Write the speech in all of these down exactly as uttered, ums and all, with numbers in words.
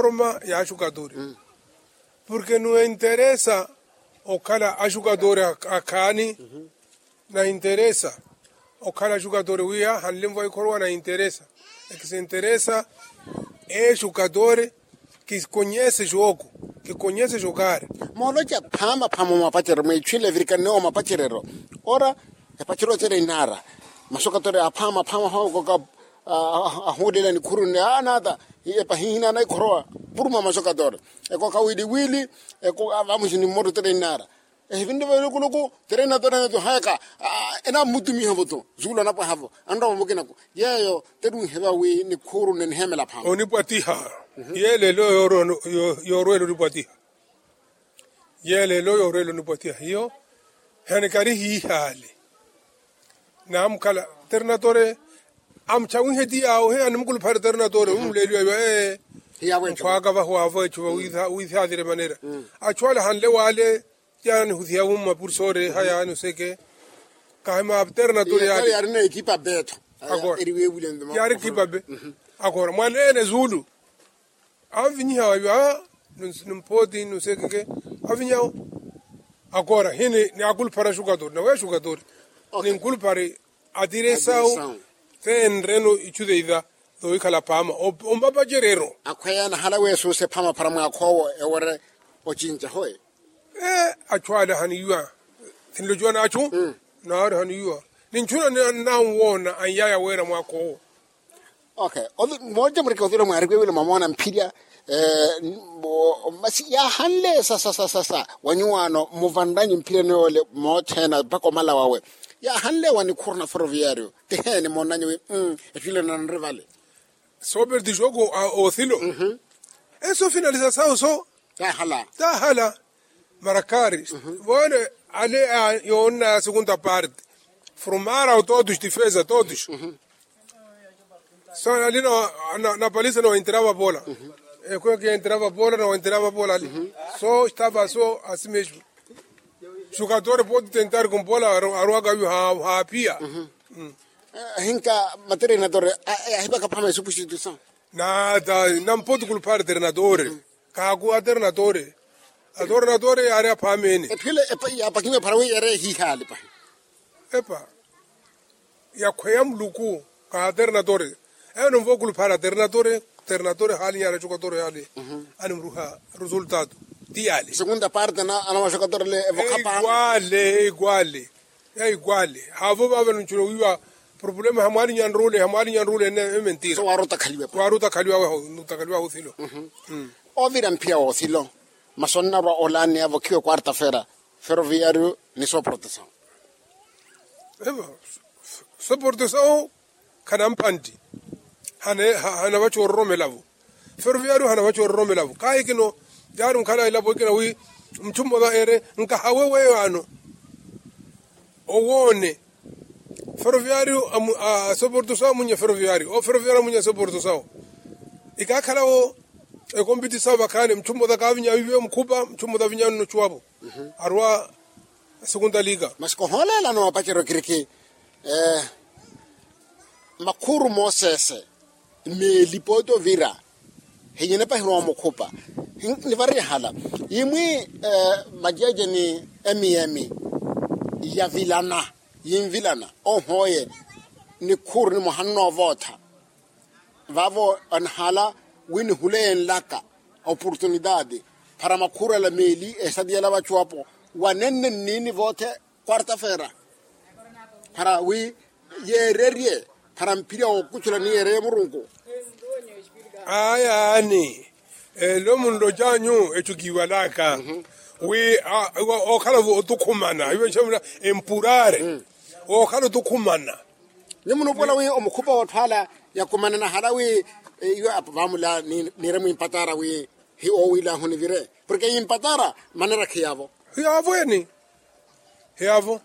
Roma ya axukatori. Porke no enteresa okhala axukatori akhaani. Na enteresa okhala axukatori wiya hanlemva ikhorowa na enteresa. Ekisenteresa exukatori. Kikonyese xooku. Kikonyese xokaari. Mooloca phaama phaama mwapacerero mweetchwile evirikanne omapacerero. Ora epacerero cere inaara. Maxukatori aphaama phaama phaama koka ahuulela nikhuru nne anaata. Epahihi naana ikhorowa puruma maxukatori. Eko kawiliwili. Eko vamuxini mmotta tere inaara. Ehivinre velukuluku tere inatora natu hayaka. Enammutumiha voto zuula napwaha vo anrowa mukinaku. Yeeyo tere unheva wi nikhuru nne niheemela phaama. Onipwatiha. Yeelelo yoorwela onipwatiha. Yeelelo yoorwela onipwatiha hiyo. Henikari hiihaale. Naamukhala ternatore. Amuchawihe ti yaawo he animukuluphale ternatore umuleliwa iwa ee. Nkhwaaka vahu avo echuva. Wiisaatire manera achu ale hanle waale. Yaanihusiya wumma pursore ha yaani oseke. Kahima ternatore yaari. Yaari na ekipa beto. Yaari ekipa be. Akora mwaneene zuulu. Anvinyiha wayo a. Nimpooti nusekeke. Avinyawo. Akora hini ni akuluphara xukatori nawe xukatori. Ninkulupari atire esawu. Te enreno ichu teiva. Towikhala phaama. Ompapacerero. Akhweya nahala weesuuse phaama phara mwaakha owo ewere. Ocinca hoe. Achu ale haniiwa. Sinlociwa n'achu. Naari haniiwa. Ni nchuna nanwoona anyaya weera mwaakha owo. Ok. Moolca mureke othilo mwaariwe wila mwamoona mphirya. Masi yaahanle sasa sasa sasa wanyuwaano muvanranyu mphirya niyole moothena mpaka omala wawe. Yaahanle wa nikhuru na ferroviario tiheeni moonnanyu wi. Ettwile nanri vale. Sooperti xooku othilo. Eso finalisa sawu so. Tahala. Tahala. Marakari. Voone ale yoonna segunda parte. Formaram todos defesa todos. So ali na paliza na waenterava bola. Ekwe kienterava bola na waenterava bola ali. So estava so asimesmo. Xukatore poti tentari kumpola. Arwaka yu haapia. Hinka materinatore. Ahipaka phama esupustituisaw. Nata nampotu kulupara ternatore. Kaaku aternatore. Aternatore yaari aphaamene. Ephile. Yapakiwe phara wi yari ehihaali pahi. Epa. Yakhweya muluku. Ka aternatore. Eno nvo kulupara ternatore. Ternatore haali nyara chukatore haali. Animruha resultado. Ti yaali segunda parte na anawaxokatore le evokhapa. Eiguale eiguale. Yaiguale haavo vaavano nchuno wiiwa. Problema hamwaalinya nruule hamwaalinya nruule ene ementira. Waaruta khaliwa waho. Nuta khaliwa waho thilo. Ovira mphia woothilo. Masi onnarwa olaani avokhiwe quarta fera. Ferroviario ni soportasawo. Evo soportasawo. Khanamphantti. Hanavacha ororomela vo. Ferroviario hanavacha ororomela vo kaahikino. Yaari nkhala elapo ikina wi muchu mmosa ere nkahawe weyo ano. Owoone. Ferroviario asoporto sawo amunnya ferroviario oferroviario amunnya asoporto sawo. Ikaakhalawo ekompiti sawo vakhaani muchu mmosa kaavinya wiiviwe mukhupa muchu mmosa avinya nno ochuwapo. Arwa. Segunda liga. Masi kohooleelano wapacerya okiriki. Makhuru mooseese meeli pooti ovira. Hinyene pahirwa omukhupa. Nivarihala imwi majeje ni emiyemi yavilana yinvilana ohooye. Nikhuru nimoha nnoovootha. Vaavo anihala wi nihule enlaka oportunidade para makhuru ala meeli esatiyela vachuwapo wanenne nniini voothe. Quarta fera para wi yeererye para mphirya wookuchula ni yeererye murunku. Ayaani elo munlocanyu echo kiiwalaka wi okhala otukhumana iwe nxamula empurare. Okhala otukhumana. Ni munuupola wi omukhupa wootthu ala yakumanana hala wi iwe apo vaamula niire mwimpatara wi hi owiilahu nivire porke yimpatara manera khiyavo. Hiyavo eni. Hiyavo.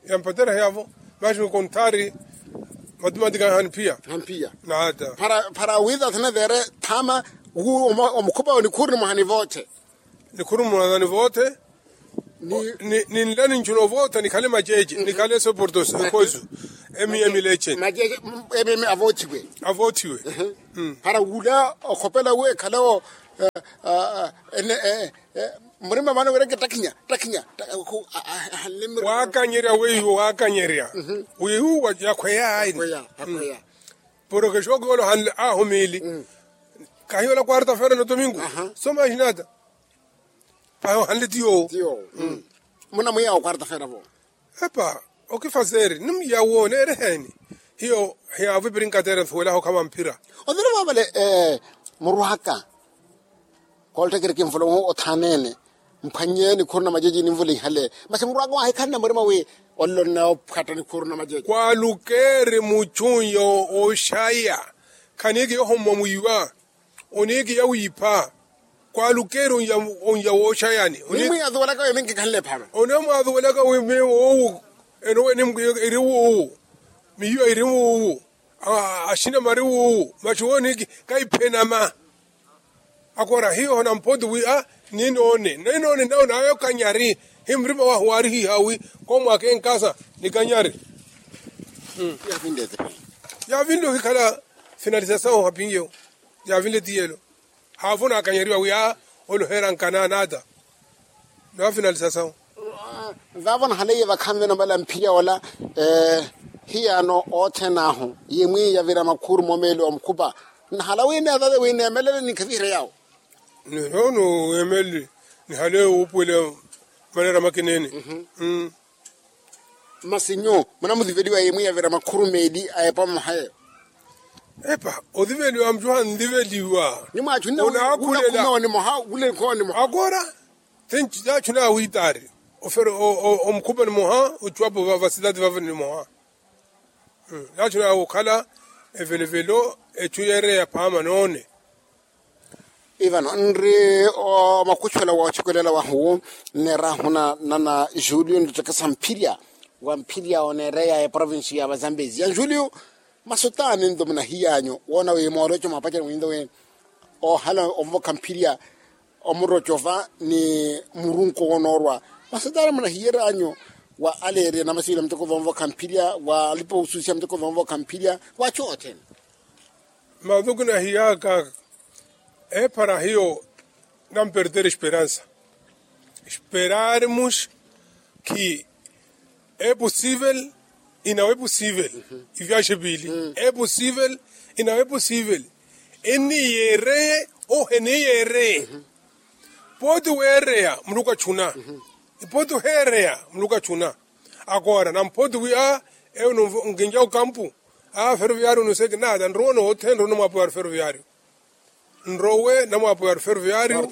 Yampatera hiyavo. Maxi konthari matumatika haniphiya. Haniphiya. Nata para wiitathanevere thama wu omukhupa onikhuri nimwaha nivootthe. Nikhurumulana ni voothe. Ninlani nchuna ovootha nikhale maceece nikhale soportos ekhoisu. Emiye mileche. Emiye avoothiwe. Avoothiwe. Para wula okhopela wi ekhalewo Murima mwaana wira ke ttakhinya ttakhinya. Waakanyerya weiwo waakanyerya. Weiwo yakhweya ayi. Porokesho kiwolo hanle ahu miili. Kahiwolo kwarta fera no tomingo. Soma hinata. Paho hanle tiyo. Muna mwiyawo kwarta fera vo. Epa, okifaseri ni mwiyawo neereheni. Hiyo hiyaavo ipiri nkateera nsuwelaho khama mphira. Othira vavale. Murwaka koolttekeri kinvula othaaneene. Mphwannye nikhuru na majeji ninvula ihale. Masi murwaka waahikhanna murima wi ollo nnaophatta nikhuru na majeji. Kwalukeeri muchunyo oshaya. Khaniiki yohomwa mwiiwa. Oniiki yawiipha. Kwalukeeri onya wooxayani. Mimwi atuwelaka weminki khanle phaama. Oneemwaatuwelaka wimiiwo owu. Enowe nimki iri wuuwu. Miiwa iri wuuwu. Axina mari wuuwu maxi wooniiki. Kaiphenama. Akora hiyo na mpoti wi a ninoone ninoone nawe nawe okanyari. Hi murima wahu waarihihawi. Komwaka enkasa nikanyari. Yaavinle ohikhala finalisasawo hapinyewo. Yaavinle tiyelo. Haafu naakanyeriwa wi a oloheera nkanaana ata. Naafinalisasawo. Vaavo nahaleiye vakhanve namala mphirya ola. Hiyaano othene ahu yimwi yavira makhuru momeeli wa mukhupa. Nahala wi neetale wi neemelele ninkhaviherya yaawo. Ninono weemelele. Nihale wuupuwela manera makineene. Masi nyu munamudiveliwa yimwi yavira makhuru meeli a epa mmoha yeyo. Epa odiveliwa mucuha ndiveliwa. Nyuma achunna. Akora. Taachu naawitaari. Ofero omukhupa nimoha ocuwapo vava silati vava nimoha. Taachu naawukhala evelevelo echu yeereya phaama noone. Ivano nri omakuxuwela wooxikolela wahu. Nneerahuna nana julio nittekesa mphirya wa mphirya oneereya eprovinsi ya vazambezi ya julio. Masutaani nto munahiyanyu woona wi mooroco mwapacerya mwinto wi ohala onvokha mphirya omurocova ni murunko wonoorwa. Masutaani munahiyeranyu wa aleeriya namasiwila muteko vonvokha mphirya wa alipa osusiya muteko vonvokha mphirya wa achu othene. Mavuku nahiyaka ephara hiyo. Nampertere esperansa. Esperarmos ki eposivel inawe posivel. Ivyaxe vili eposivel inawe posivel. Eniyeereye ohu eniyeereye. Poti weereya muluku achuna. Poti oheereya muluku achuna. Akora nampoti wi a eyo nkinca okampu. A feroviario nuseki nata nrowe noothene nrowe namwapo ya feroviario. Nrowe namwapo ya feroviario.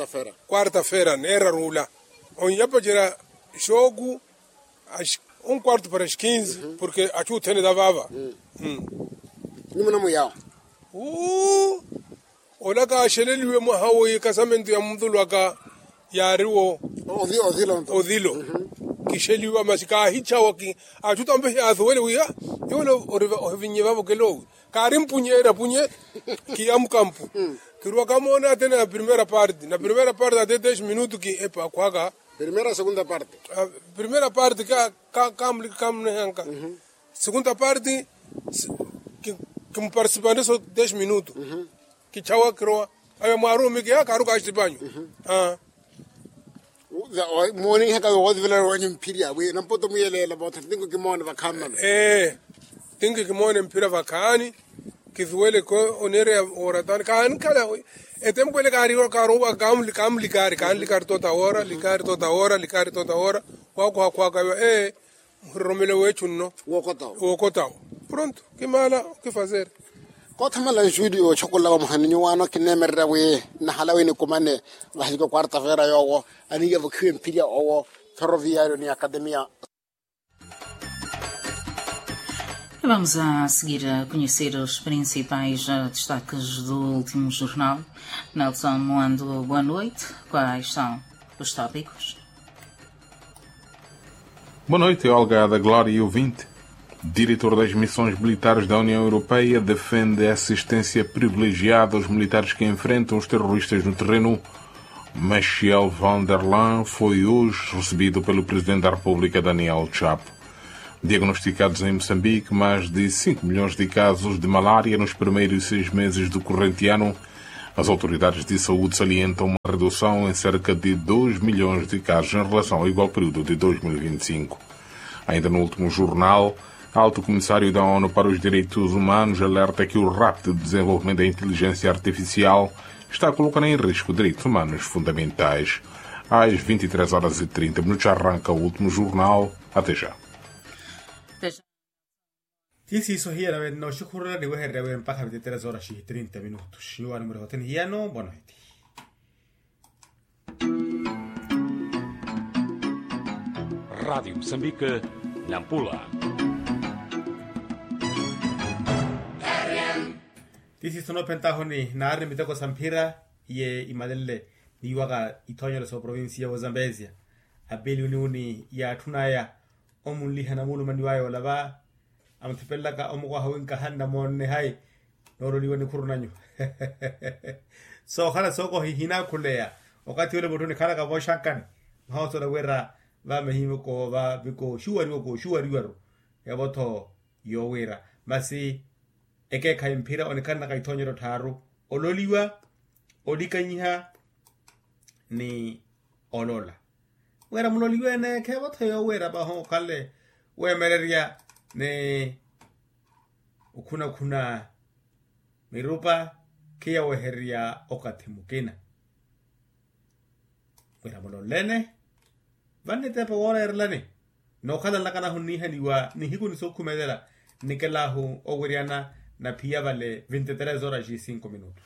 Kwarta fera neerarula onyapacerya. Xooku un kwarto para as kinzi porke achu othene ta vaava. Nyumuna mwiyawo. Uu ola kaaxeleliwe mwaha wo ikasamento ya mutulwaka yaariwo. Othilo. Kixeliwa masi kaahichawa ki achu tampe hiyathuwele wiya. Iwele ohivinnye vavo kelowi kaari mpunyeerya punye. Kiyamuka mpu kiruwa kamoona atena ya primera parte na primera parte ate dez minutu ki epa akhwaka. Primera parte ka kamunehanka. Segunda parte kimupartisipanre so dez minutu. Kichawa kirowa awe mwaarumi kiya kaaruka axipanyu. Moonihaka woothivela wenyu mphirya wi nampoto muyeleela vootha tinko kimoone vakhaani mano. Ee tinko kimoone mphirya vakhaani. Kithuweleke oneereya wooratani kaanikhala. Etempo ele kaarowaka kaamulikaari kaanilikaari tota woora likaari tota woora likaari tota woora. Khwakuhakhwaka iwa ee muhiroromele weechu nno. Wookotawo pronto kimaala okifazere. Koothamala nxuuli yooxokolla vamoha ni nyuwaano kineemererya wi nahala wi nikumane vahilike kwarta feera yoowo aniiya vokhiwe mphirya owo feroviario ni akademia. Vamos a seguir a conhecer os principais destaques do último jornal. Nelson Moando, boa noite. Quais são os tópicos? Boa noite, Olga da Glória e ouvinte. Diretor das missões militares da União Europeia defende assistência privilegiada aos militares que enfrentam os terroristas no terreno. Michel van der Laan foi hoje recebido pelo Presidente da República, Daniel Chapo. Diagnosticados em Moçambique mais de cinco milhões de casos de malária nos primeiros seis meses do corrente ano, As autoridades de saúde salientam uma redução em cerca de dois milhões de casos em relação ao igual período de dois mil e vinte e cinco. Ainda no último jornal, alto comissário da onu para os direitos humanos alerta que o rápido desenvolvimento da inteligência artificial está a colocar em risco direitos humanos fundamentais. Às vinte e três horas e trinta minutos arranca o último jornal. Até já. Ti siiso hiyana wenna oxikhurela niwehererya wi mpakha vinte e três horas e trinta minutos nyuwani murihotheni hiyano bono hiti. Radiyo musambika, nampula. Ti siiso noophentahoni naari ni miteko sa mphira iye imalenle niwaka ithoonyelo sa oprovincia wa zambezia. Apeli uniuni yaatthunaya omunliha namulumani waya olava amuthipelelaka omukwaha wi nkahanna moonne hayi noololiwa nikhuru nanyu. Soohala sookohi hinaakhuleya okathi ole mutthu nikhalaka vooxankani. Nhoosola wira vamehimoko vaviko xuwariwa kooxuwariwaru yavo-tho yoowira masi ekeekhayi mphira onikhanaka ithoonyero tthaaru ololiwa olikanyiha ni olola. Wira muloliwe-ene kheevo-tho yoowira vaho okhale weemererya ni okhunakhuna mirupa khiyawehererya okathi mukina. Wira mulolene vanniteepa wooreerelani nookhalanlaka nahunniihaniwa nihiku ni sookhumelela nikelahu owiryana na phiya vale vinte tres horas e cinco minutos.